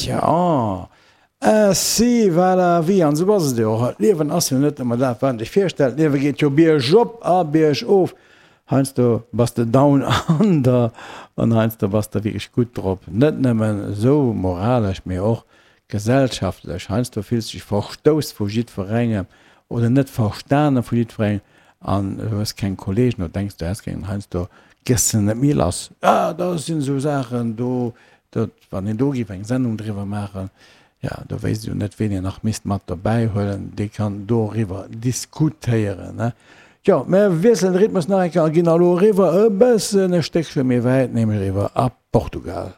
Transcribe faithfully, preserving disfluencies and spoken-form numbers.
Tja, Ainsi va la vie. An esou ass et jo och. D'Liewen ass jo net ëmmer dat, wat een sech virstellt. D'Liewe geet jo biergop a biergof. Heiansdo bass de down under an heiansdo bass de wierklech gutt drop. Net nëmmen esou moralesch, mee och gesellschaftlech. Heiansdo fills de dech verstouss vu jiddwerengem oder net verstane vu jiddwerengem an du hues keng Kolleegen oder denks du häss keng. Heiansdo gëss de net méi lass. Ah, da sinn esou Saachen do, dat, wann een do géif eng Sendung driwwer maachen, jo, do wéisst ee jo net, ween een nach misst mat dobäi huelen, dee kann doriwwer diskutéieren, ne? Jo, mer wiesselen de Rhythmus nach eng Kéier a ginn elo eriwwer e bëssen e Stéckche méi wäit, nämlech eriwwer a Portugal.